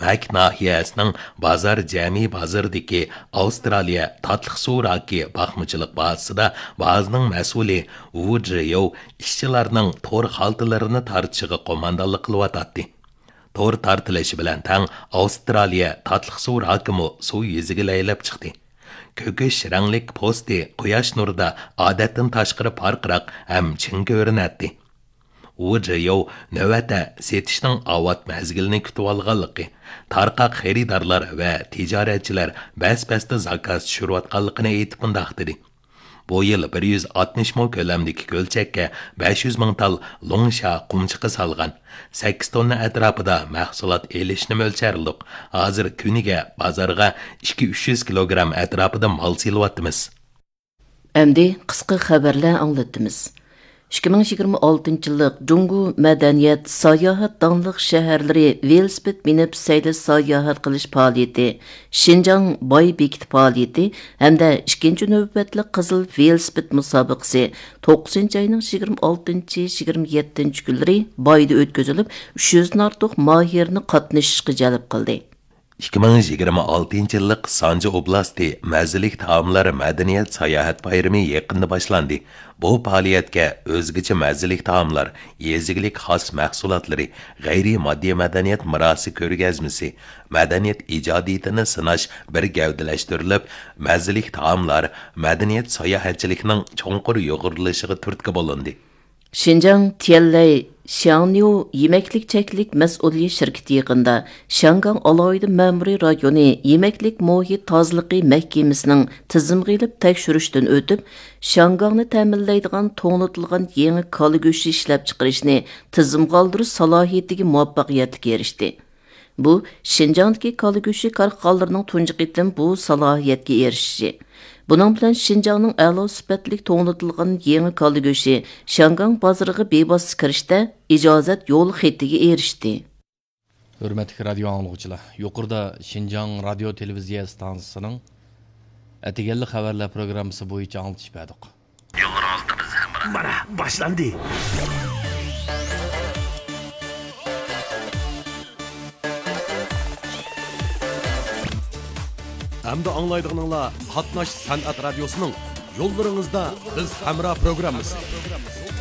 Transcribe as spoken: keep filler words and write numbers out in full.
مەك ناھىيەسىنىڭ بازار جەمئىي بازىرىدىكى ئاۋسترالىيە تاتلىق سۇ راكى باقمىچىلىق بازىسىدا بازىنىڭ مەسئۇلى ۋۇ جيو ئىشچىلارنىڭ تور خالتىلىرىنى تارتىشىغا قوماندانلىق قىلىۋاتاتتى. تور تارتىلىشى بىلەن تەڭ ئاۋسترالىيە تاتلىق سۇ راكىمۇ سۇ يۈزىگە لەيلەپ چىقتى. كۆكۈش رەڭلىك پوستى قۇياش نۇرىدا ئادەتتىن تاشقىرى پارقىراق ھەم چىڭ كۆرۈنەتتى. ۋۇ جيو نۆۋەتتە سېتىشنىڭ ئاۋات مەزگىلىنى كۈتۈۋالغانلىقى، تارقاق خېرىدارلار ۋە تىجارەتچىلەر بەس-بەستە زاكاز چۈشۈرۈۋاتقانلىقىنى ئېيتىپ مۇنداق دېدى: بۇ يىل بىر يۈز ئاتمىش مو كۆلەمدىكى كۆلچەككە بەش يۈز مىڭ تال لۇڭشيا قۇمچىقى سالغان، سەككىز توننا ئەتراپىدا مەھسۇلات ئېلىشنى مۆلچەرلىدۇق. ھازىر كۈنىگە بازارغا ئىككى ئۈچ يۈز كىلوگرام ئەتراپىدا مال سېلىۋاتىمىز. ئەمدى قىسقا خەۋەرلەر ئاڭلىتىمىز. ئىككى مىڭ يىگىرمە ئالتىنچى يىللىق جۇڭگو مەدەنىيەت، ساياھەت داڭلىق شەھەرلىرى ۋېلىسىپىت مىنىپ سەيلە ساياھەت قىلىش پائالىيىتى، شىنجاڭ باي بېكىتى پائالىيىتى ھەمدە ئىككىنچى نۆۋەتلىك قىزىل ۋېلىسىپىت مۇسابىقىسى توققۇزىنچى ئاينىڭ يىگىرمە ئالتىنچى، يىگىرمە يەتتىنچى كۈنلىرى بايدا ئۆتكۈزۈلۈپ، ئۈچ يۈزدىن ئارتۇق ماھىرنى قاتنىشىشقا جەلپ قىلدى. ئىككى مىڭ يىگىرمە ئالتىنچى يىللىق سانجى ئوبلاستى مەززىلىك تائاملار مەدەنىيەت ساياھەت بايرىمى يېقىندا باشلاندى. بۇ پائالىيەتكە ئۆزگىچە مەززىلىك تائاملار، يېزا ئىگىلىك خاس مەھسۇلاتلىرى، غەيرىي ماددىي مەدەنىيەت مىراسى كۆرگەزمىسى، مەدەنىيەت ئىجادىيىتىنى سىناش بىر گەۋدىلەشتۈرۈلۈپ، مەززىلىك تائاملار، مەدەنىيەت ساياھەتچىلىكنىڭ چوڭقۇر يۇغۇرۇلۇشىغا تۈرتكە بولۇندى. شىنجاڭ تيەنلەي شياڭنيۇ يېمەكلىك چەكلىك مەسئۇلىيەت شىركىتى يېقىندا شياڭگاڭ ئالاھىدە مەمۇرىي رايونى يېمەكلىك مۇھىت تازىلىقى مەھكىمىسىنىڭ تىزىمغا ئېلىپ تەكشۈرۈشتىن ئۆتۈپ، شياڭگاڭنى تەمىنلەيدىغان توڭلىتىلغان يېڭى كالا گۆشى ئىشلەپچىقىرىشنى تىزىمغا ئالدۇرۇش سالاھىيىتىگە مۇۋەپپەقىيەتلىك ئېرىشتى. بۇ، شىنجاڭدىكى كالا گۆشى كارخانىلىرىنىڭ تۇنجى قېتىم بۇ سالاھىيەتكە ئېرىشىشى. بۇنىڭ بىلەن شىنجاڭنىڭ ئەلا سۈپەتلىك توڭلىتىلغان يېڭى كالا گۆشى شياڭگاڭ بازىرىغا بىۋاسىتە كىرىشتە ئىجازەت يول خېتىگە ئېرىشتى. ھۆرمەتلىك رادىيو ئاڭلىغۇچىلار، يۇقىرىدا شىنجاڭ رادىيو تېلېۋىزىيە ئىستانسىسىنىڭ ئەتىگەنلىك خەۋەرلەر پروگراممىسى بويىچە ئاڭلىتىش بەردۇق. يوللىرىڭىزدا بىز ھەمراھ. مانا، باشلاندى. ئەمدى ئاڭلايدىغىنىڭلار قاتناش سەنئەت رادىيوسىنىڭ يوللىرىڭىزدا بىز ھەمراھ پروگراممىسى.